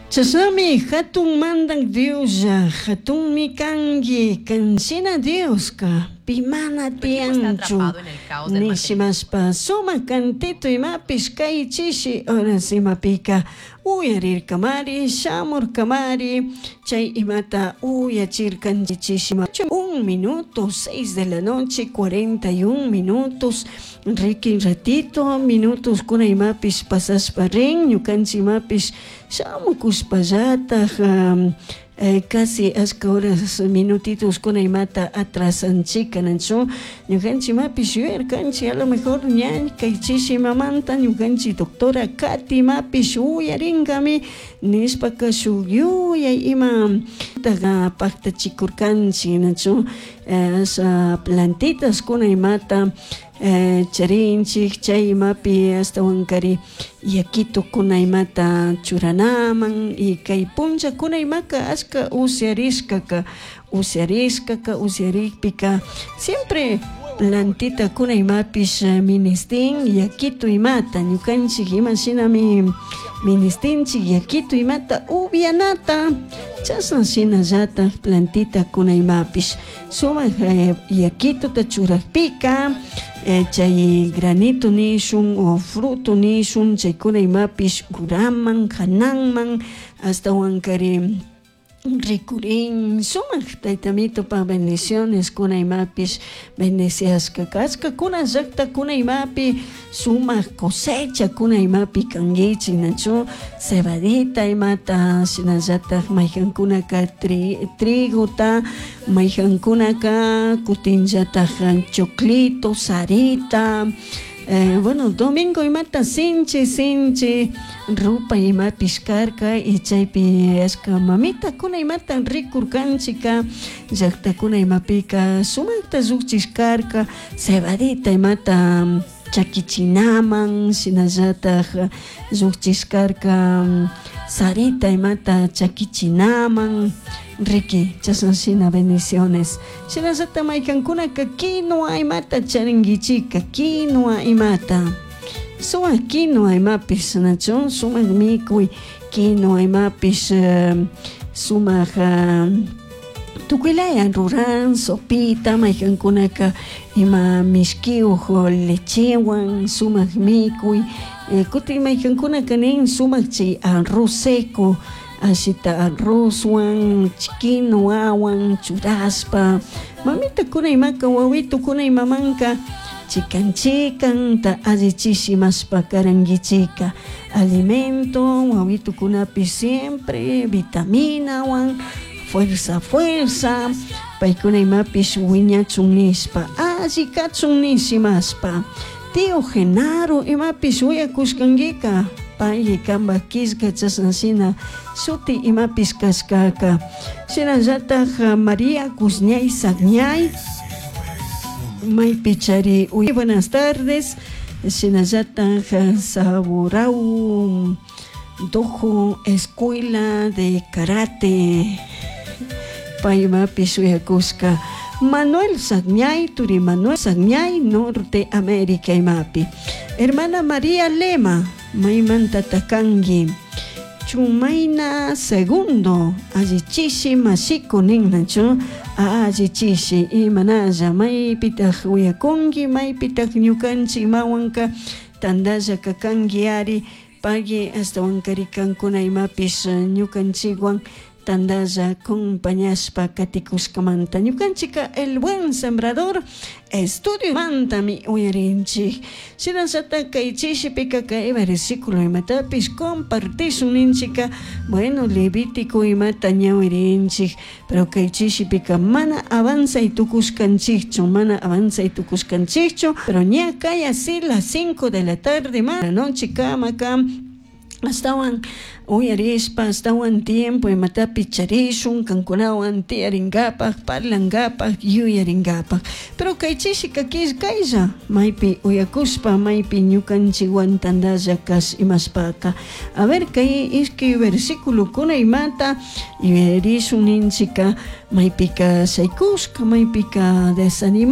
Chashnami jatun Mandaj Dioslla, jatunmi cangui, can shina Diosca pi mana Tu equipo está tiyanchu. atrapado en el caos del mantenimiento. Nishimashpa sumak cantito imapish kay chishi horas imapika uyarirkamari, shamurkamari, chay imata uyachirkanchik chishima. Un minuto, 6 de la noche, 41 minutos, rikin ratito, minutos kuna imapish pasashpa rin, ñukanchik imapish shamukushpallataj casi ashka horas minutitos kuna imata atrasanchika nachu ñukanchik imapish yuyarkanchik a lo mejor ña kay chishi imamanta ñukanchik doctora Katy imapish uyarinkami nishpaka shuk yuyay ima paktachikurkanchik nachu asha plantitas kuna imata charinchik chay imapi ashtawankari yakitukuna imata churanaman y kay punllakuna imaka ashka usyarishkaka usyarishkaka usyarikpika siempre plantitakuna imapish ministin yakitu imata ñukanchik ima shinami ministinchik yakitu imata upianata chashna shinallatak plantitakuna imapish sumak yakituta churakpika chay granito nishun o fruto nishun chaykuna imapish uraman hananman ashtawankari rikurin sumak taytamitupak bendiciones kuna imapish bendeciashka kashkakuna llaktakuna imapi sumak cosecha kuna imapi kankichik nachu cebadita imata shinallatak maykankunaka trigota maykankunaka kutinllatak choclito sarita. Bueno, domingo imata sinchi sinchi rupay imapish karka y chaypi ashka mamitakuna imata rikurkanchika llaktakuna imapika sumakta llukchishkarka cebadita imata chakichinaman shinallatak llukchishkarka sarita imata chakichinaman riki chashna shina bendiciones shinallatak maykankunaka quinua imata charinkichika quinua imata sumak quinua imapish nachu sumak mikuy quinua imapish sumak tukuylaya ruran sopita maykankunaka ima mishkiyuk lechewan sumak mikuy kutin maykankunaka nin sumak chay arroz seco ashita arrozwan quinuawan churashpa mamitakuna imaka wawitukuna imamanka chikan chikanta allichish imashpa karankichika alimento wawitukunapish siempre vitaminawan fuerza fuerza paykuna imapish wiñachun nishpa alli kachun nish imashpa. Tío Genaro imapish uyakushkankika pay kanpak killka chashna shina shuti imapish kashkaka shinallatak María Guzñay Sagñay maypi chari buenas tardes shinallatak Saborau Dojo Escuela de Karate pay imapish uyakushka Manuel Sagñay turi Manuel Sagñay Norte América imapi hermana María Lema maymanta kanki Chumayna segundo allichishi mashiko ninnachu allichishi imanalla maypitak uyakunki maypitak ñukanchik imawanka tantalla kakanki ari pagui ashtawankari kankuna imapish ñukanchikwan tantalla acompañashpa katikushkamanta ñukanchika El Buen Sembrador estudio mantami uyarinchik shinallatak kay chishipika kay versículo imatapish compartishun ninchika bueno Levítico imata ñawirinchik pero kay chishipika mana avanzay tukushkanchikchu mana avanzay tukushkanchikchu pero ña kay así las 5 de la tarde ma la noche kamaka ashtawan uyarishpa ashtawan tiempo imatapi charishun kankunawan tiyarinkapak parlankapak yuyarinkapak pero kay chishika killkaylla maypi uyakushpa maypi ñukanchikwan tantalla kash imashpaka a ver kay ishkay versiculokuna imata yuyarishun ninchika maypika shaykushka maypika desanimado.